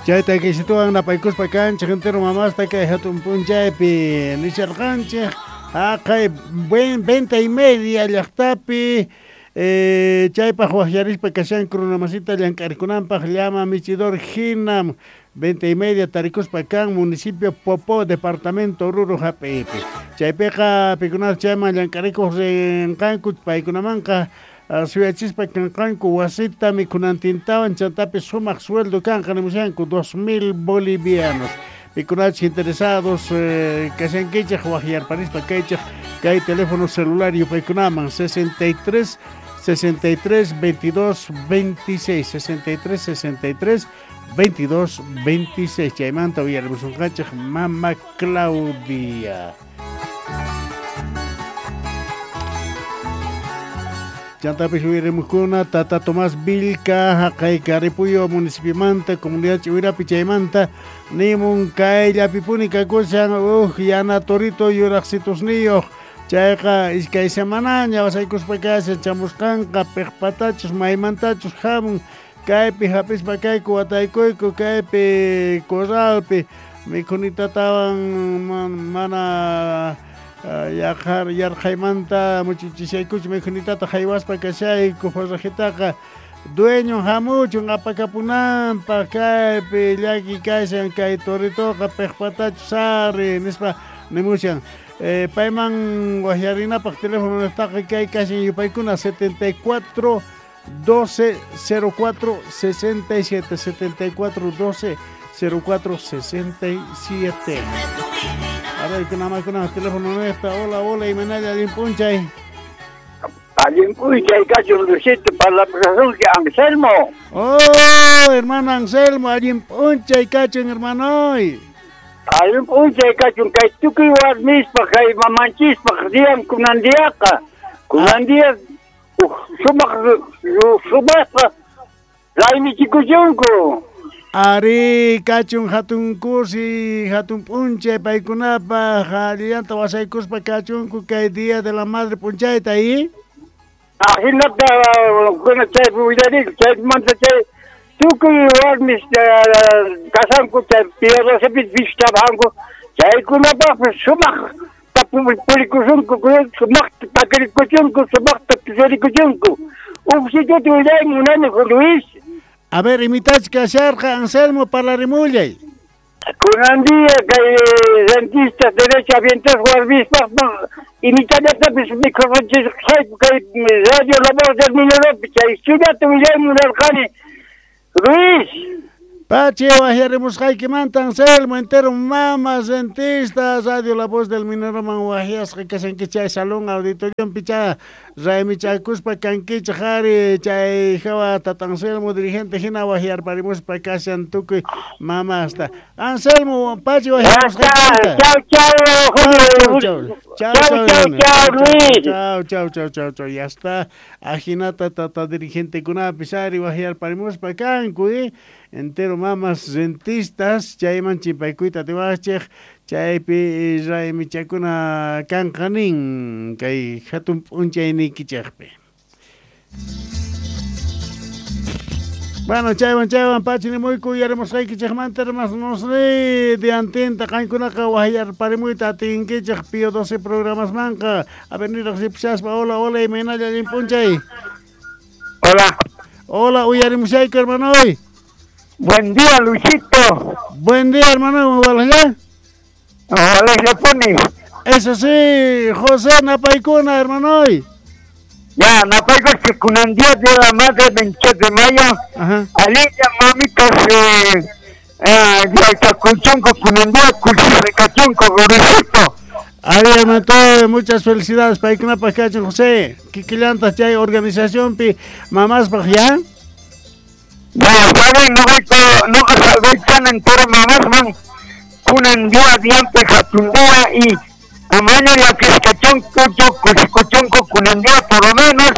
Chayta kisituwan napaykuspa kanchik entero mamasta kay hatun p'unchaypi nisharqanchik haqay venta y media llaqtapi chaypaq waqyarispa kashanku runamasita llank'arikunanpaq llama michidor hinam venta y media tarikuspa kan municipio Popó departamento Oruro hap'iypi chaypiqa pikunata chayman llank'arikuq rinqanku paykunamanqa suyachispa kanqanku wasita mikhunantintawan chantapis sumaq sueldo kanqa nimushanku 2000 bolivianos pikunachus interesados kashankichik waqyarparispa kaychik kay teléfono celular yupaykunaman 63 63 22 26 63 63 22 26 chaymanta uyarimusunqanchik Mama Claudia. Chantapis uyarimuqkuna Tata Tomás Vilca haqay Caripuyo municipiomanta comunidad Chihuirapi chaymanta nimun kayllapipuni kakushan uj yana torito yuraqsitusniyuq chayqa iskay semanaña wasaykuspa kashan chamusqanqa piqpatachus maymantachus hamun kaypi hap'ispa kayku wataykuyku kaypi corralpi mikhunitatawan mana yarqhaymanta muchuchishaykuchu mikhunitata haywaspa kashayku forrajitaqa dueño hamuchun apakapunanpaq kaypi llaki kashan kay toritoqa piqpatachus ari nispa nimushan payman waqyarinapaq teléfono niqtaqa kay kashan yupaykuna 74 12 04 67 74 12 04 67. A ver, kuna teléfono nuestra. Hola, hola, Imanalla, allin p'unchay. Allin p'unchay kachun Luisito para la profesor Anselmo. Oh, hermano Anselmo, allin p'unchay kachun, hermano. Allin p'unchay kachun kay tukuy warmispaq kay mamanchispaq diyan kunandiyaqa. Kunandiya sumaq sumaqqa raymichikuchunku. Ari kachun hatun kusi hatun p'unchay paykunapaq allillanta wasaykuspa kachunku kay día de la madre p'unchayta y ajinata kuna chaypi willariku chaymanta chay tukuy warmis kasanku chay piedrasapis visitabanku chaykunapaqpis sumaqta purikusunku sumaqta takirikuchunku sumaqta tusurikuchunku uj sitiota willay munani Luis. A ver, imitach kasharqa Anselmo parlarimullay. Kunan día kay rentistas derecho habientes warmispaq imitallatapis mikhuchisqayku kay Radio La Voz del Minero chay sutata willay munarqani Luis. Pachi waqyarimusqaykimanta Anselmo entero mamas rentistas Radio La Voz del Minero man waqyasqa kashanki chay salón auditoriumpi chay raymichakuspa kankichik ari chay hawa tata Anselmo dirigente hina waqyarparimuspa kashan tukuy mamasta Anselmo pachi waqyarimusqaykimanta. Chau chau chau chau Luis. Chau chau chau chau chau ya está ajinata tata dirigentekunapis ari waqyarparimuspa kanku entero mamas rentistas chayman chimpaykuyta atiwaqchik chaypi raymichakuna kanqanin kay hatun p'unchayniykichikpi. Bueno, chaywan chaywan pachi nimuyku uyarimusqaykichikmanta hermanosni diantinta qankunaqa waqyarparimuyta atinkichik Pío 12 programasmanqa. A ver, niraq ripishaspa. Hola, hola, imaynalla allin p'unchay. Hola. Hola, uyarimushayku hermanoy. Buen día, Luisito. Buen día, hermano. ¿Hola? Hola, Japoni. Eso sí, José Napaicuna, hermano. Ya, Napaico, que con día de la madre 28 de mayo. Ajá. Alilla, mamitas, Cuchunco, Cunandía, Cuchunco, Luisito. Ahí, hermano, muchas felicidades para Icuna Pacacho, José. Kikillantas, chay organización, pi, mamás, ya. Ya, saben, no salgan entero mamás, man. Kunan día, diante, jatundía y amaña la pescachón, cucho, cuchunco, kunandía, por lo menos,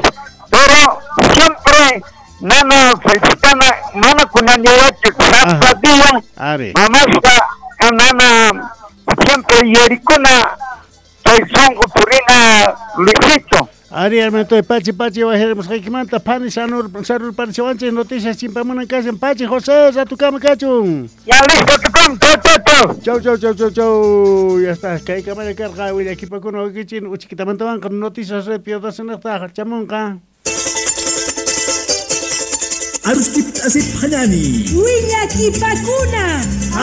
pero siempre, nana, felicitana, nana, kunandía, zapatilla, mamás, nana, siempre, yericuna, soy songo, purina, Luisito. Ari, hermanito, pachi, pachi, wajarimusqaykimanta, phani sarurparichiwanchik noticias chimpamunan kashan. Pachi, José, ratukama kachun. Ya listo, tukam, chau, chau, chau. Chau, chau, chau, chau, chau. Ya está, kay kamalla karqa willakipakuna wakichin uchikitamantawanqa noticias red piyodasinaqta chamunqa. Aruskip asip hanani. Willakipakuna.